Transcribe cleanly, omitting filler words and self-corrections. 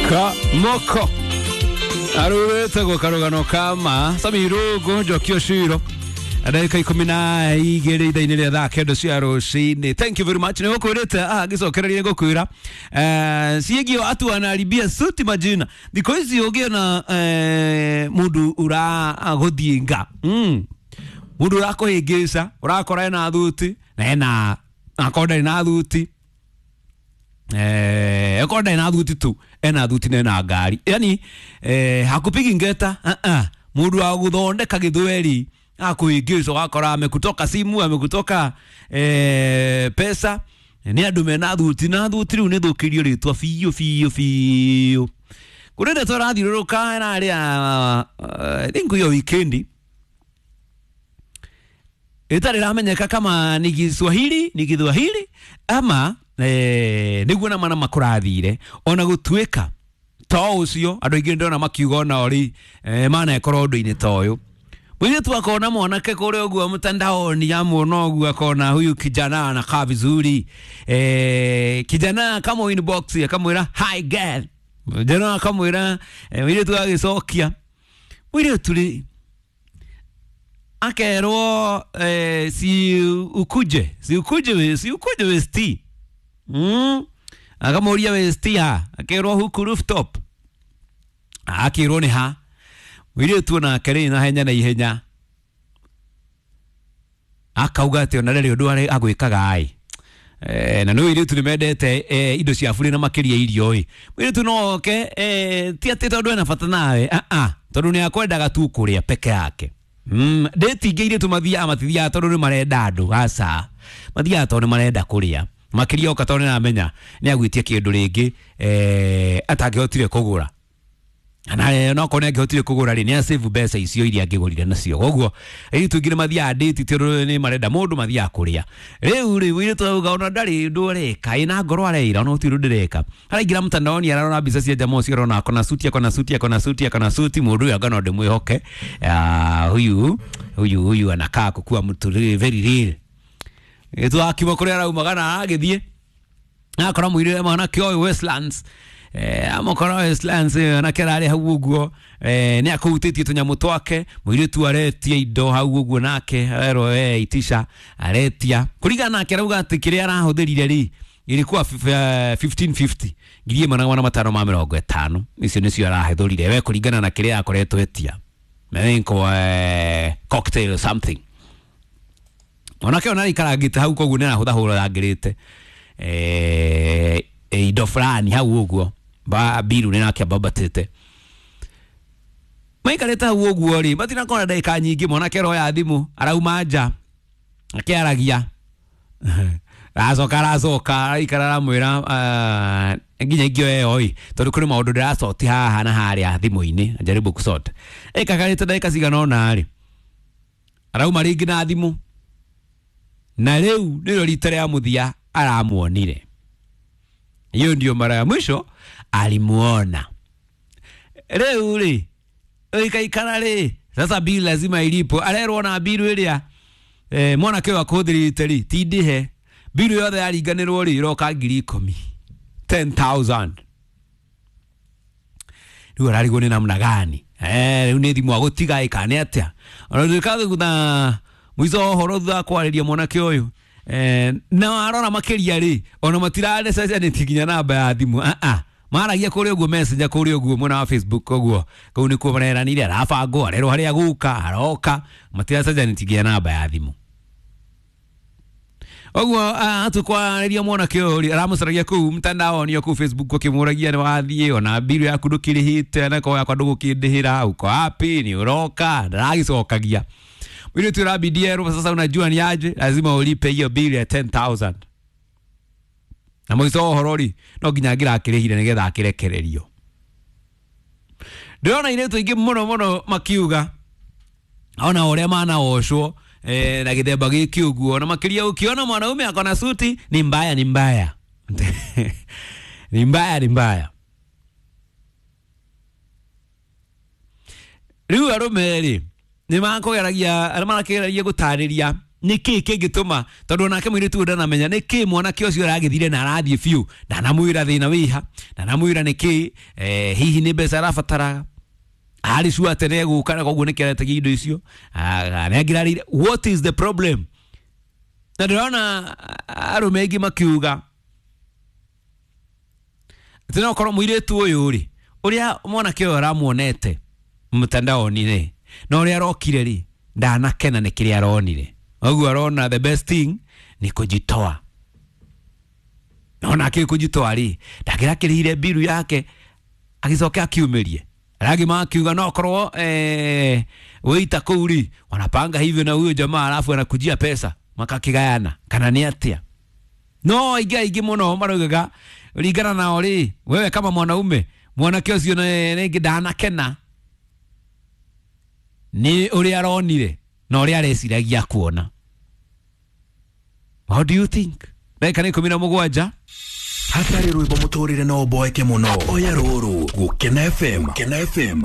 Kamoko arurete karugano kama Samirugu Njokio Shiro ndagika 12 ithaa-inĩ rĩa thaa 9 cia rũcinĩ. Thank you very much. Nĩ gũkwĩrĩte ngĩcokereria ngũkwĩra ciĩgiĩ atu anaribia suti majina thikũ ici ũngĩona mũndũ ũragũthiĩnga mũndũ ũrakũhĩngĩca ũrakora ena thuti na ena akorwo ndarĩ na thuti akorwo ndarĩ na thuti tu ena thuti na ena ngari yani hakupigi ngeta mũndũ wa gũthondeka gĩthweri akuingiza wakora amekutoka simu amekutoka pesa ni andu mena thuti na thuti riu ni thukirio ritwa biũ biũ biũ kuri ndeto ĩrathiũrũrũka ĩrarĩa I think hiyo weekend ĩtarĩ ĩramenyeka kama ni Kiswahili ni Githwahili ama nĩguo na mana makũrathire ona gũtuĩka to ũcio andũ aingĩ ndĩrona makiuga ona ori manekorwo ũndũ-inĩ ta ũyũ. Mwenyetu akona mwanake kule uguo mtandaoni amuona uguo akona huyu kijana anakaa vizuri kijana kama inbox akamwira hi girl kijana akamwira mwenyetu agicokia mwenyetu ri akerwo si ukuje si ukuje si ukuje westi akamuria westi ha akerwo huku rooftop akirwo ni ha mwenyetu nake rĩ na henya na ihenya akauga atĩ ona rĩrĩ ũndũ arĩ agwĩkaga ĩ na nĩ airĩtu nĩ mendete indo cia burĩ na makĩria irio ĩ mũirĩtu no oke ti atĩ tondũ ena bata nawe tondũ nĩ akwendaga tu kũrĩa peke yake ndĩti ingĩ airĩtu mathiaga matithiaga tondũ nĩ marenda andũ aca mathiaga tondũ nĩ marenda kũrĩa makĩria oka tondũ nĩ aramenya nĩ agwĩtia kĩndũ rĩngĩ atangĩhotire kũgũra na no kone angĩhotire kũgũra rĩ nĩ asave mbeca icio iria angĩgũrire nacio koguo airĩtu aingĩ nĩ mathiaga date tondũ nĩ marenda mũndũ mathiaga kũrĩa rĩu rĩ mũirĩtu auga ona ndarĩ ũndũ areka ĩna ngoro areira ona gũtirĩ ũndũ ndĩreka araingĩra mtandaoni ararora mbica cia jamaa ũcio arona akona suti akona suti akona suti akona suti mũndũ ũyũ anga no ndĩmwĩhoke huyu huyu huyu anakaa kukua mtu very real ĩtu akiuma kũrĩa araumaga na agĩthiĩ akora mũirĩtu mwanake ũyũ Westlands amokora Westlands anake ararĩ hau ũguo nĩ akũhutĩtie tũnyamũ twake mũirĩtu aretia indo hau ũguo nake arerwo itisha aretia kũringana nake arauga atĩ kĩrĩa arahũthĩrire rĩ ilikuwa 1550 1550 icio nĩcio arahũthĩrire we kũringana na kĩrĩa akoretwo etia I think cocktail or something mwanake ona aikarangĩte hau koguo nĩ arahũthahũrangĩrĩte indo fulani hau ũguo ba biru nĩ nake ambabatĩte maikarĩte hau ũguo rĩ matinakora ndagĩka nyingĩ mwanake aroya thimũ arauma nja akĩaragia aracoka aracoka araikara aramwĩra nginya ingĩoya ĩyo ĩ tondũ kũrĩ maũndũ ndĩracoti haha na harĩa thimũ-inĩ jaribu kusort ĩkakarĩte ndagĩka cigana ũna rĩ arauma rĩngĩ na thimũ na rĩu nĩrĩo rita rĩa mũthia aramuonire. Hiyo ndio mara ya mwisho alimuona. Rĩu rĩ ikaikara rĩ sasa bili lazima ilipo arerwo na bilu ĩrĩa mwanake ũyũ akũhũthĩrĩte rĩ ti ndĩhe bilu yothe yaringanĩrwo rĩ ĩroka 10,000 10,000 rĩu ararigwo nĩ namna gani rĩu nĩ thimũ agũtiga ĩ kana nĩ atĩa ona nduĩka thutha mũico wa ũhoro thutha wa kwarĩria mwanake ũyũ na arora makĩria rĩ ona matirarecenjanĩtie nginya namba ya thimũ maragia kũrĩa ũguo messenger kũrĩa ũguo mwena wa Facebook ũguo kũu nĩkuo mareranire arabangwo arerwo harĩa gũka aroka matiracenjanĩtie nginya namba ya thimũ ũguo atukwarĩria mwanake ũyũ rĩ aramũcaragia kũu mtandaoni kũu Facebook ũkĩmũragia nĩ wathiĩ ona biru yaku ndũkĩrĩhĩte na korwo yakwa ndũgũkĩndĩhĩra uko wapi nĩ ũroka ndaragĩcokagia mwĩrĩtu ũrabidi erwo sasa unajua ni aje lazima ulipe hiyo bili ya 10,000 na mũico wa ũhoro rĩ no nginya angĩrakĩrĩhire nĩgetha akĩrekererio ndĩrona airĩtu aingĩ mũno mũno makiuga ona ũrĩa manaocwo na gĩthemba gĩkĩ ũguo na makĩria ũkĩona mwanaume akona suti ni mbaya ni mbaya ni mbaya ni mbaya rĩu arũme rĩ nĩ makũgeragia arĩa marakĩgeragia gũtarĩria Nĩ kĩĩ kĩngĩtũma, tondũ onake mũirĩtu ũyũ ndanamenya nĩ kĩĩ mwanake ũcio aragĩthire na arathiĩ biũ, ndanamwĩra thĩna wĩha, ndanamwĩra nĩ kĩĩ, hihi nĩ mbeca arabataraga, arĩ sure atĩ nĩegũka na koguo nĩkĩo aretagia indo icio, nĩ angĩrarĩire. What is the problem? Na ndĩrona arũme aingĩ makiuga atĩ no korwo mũirĩtu ũyũ rĩ, ũrĩa mwanake ũyũ aramuonete mtandaoni rĩ, na ũrĩa arokire rĩ, ndanakena nĩ kĩrĩa aronire, ũguo arona the best thing ni kujitoa. Na akĩrĩ kujitoa rĩ, ndangĩrakĩrĩhire mbiru yake agĩcoke akiumĩrie. Arangĩ makiuga no korwo wĩita kũu rĩ, wanapanga hivyo na huyo jamaa alafu anakujia pesa makakigayana, kana nĩ atĩa? No aingĩ aingĩ mũno maraugaga ringana nao rĩ, wewe kama mwanaume, mwanake ũcio rĩngĩ ndanakena nĩ ũrĩa aronire na ũrĩa areciragia kuona. How do you think? Ndagĩka nĩ 17. Hatarĩ rwĩmbo mũtũrĩre no ũboeke mũno. Oya rũrũ Gũkena FM. Gũkena FM.